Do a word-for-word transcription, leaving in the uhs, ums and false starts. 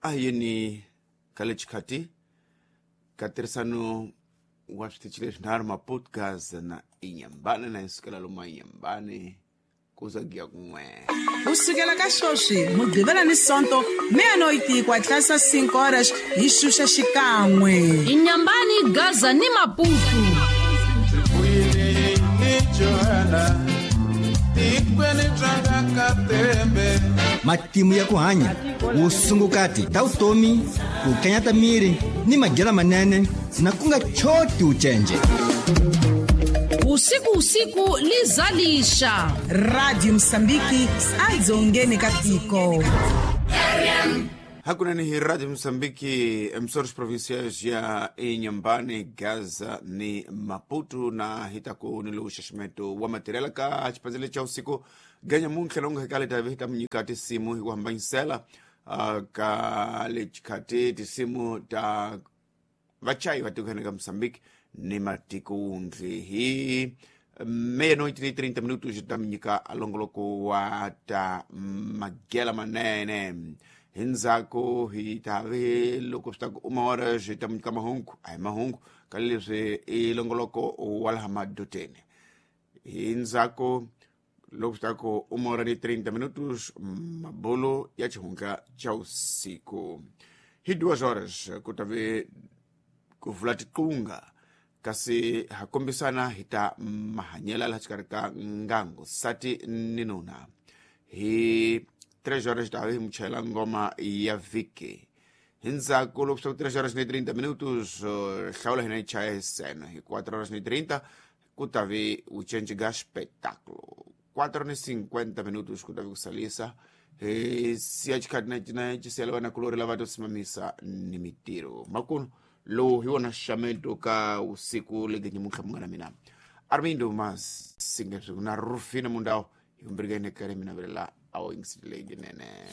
A hi yeni ka le xikhati ka tirhisano wa switichi leswinharhu Maputo, Gaza na Inhambane, na hi sukela lomu Inhambane ku za giya kun'we. Ku sukela ka sweswi Mugqivela ni Sonto meia-noite ku atlasa cinco horas hi xuxa xikan'we. Inhambane, Gaza ni Maputo. Matimu ya ku hanya, vusungukati ta vutomi, ku kanyata miri ni madyelo manene na ku nga choti ucenje. Usiku usiku lizalisha. Radio Mozambique adzongeni ka tiko. Hakunene hi Radio Mozambique, emissores provinciais ya Inhambane, Gaza ni Maputo, na hi ta ku ni lowu xaxameto wa matirhela ka xipandzele xa usiku ganya muntlha lowu nga hekale ta hi ta mi nyika tinsimu hi ku hambanyisela uh, ka le xikhati tinsimu ta vachayi va tiko ka Mozambique ni matiko wundli. Hi meia-noite ni trinta minutos ta mi nyika longoloko wa ta magela manene. Hi ndzhaku hi ta ve loko swi ta ku uma hora swi ta mi nyika mahungu, a hi mahungu ka leswi i longoloko wa laha madoteni. Hi ndzhaku loko swi ta ku uma hora ni trinta minutos mabolo ya xihundla xa usiku. Hi duas horas ku ta ve ku vula tiqunga, kasi ha kombisana hi ta mahanyela laha xikarhi ka ngangu sati ni nuna. Hi três horas ta hi muchayela ngoma ya vhiki. Hi ndzhaku loko swi ta ku três horas ni trinta minutos hlawula hina hi chaya hi seno. Hi quatro horas ni trinta ku ta ve u cinci ga espetáculo. Quatro ni cinquenta minutos ku ta ve ku salisa. Hi siya xikhati na cina xi siyela vanakulori lava to simamisa ni mitirho. Makunu lowu hi wona xaxameto ka usiku lege nyamuntlha munghana mina Armindo Masinga na Rufino Mundau hi vumbirhi ka yini kale mina velela a wu yingiseleleki nene.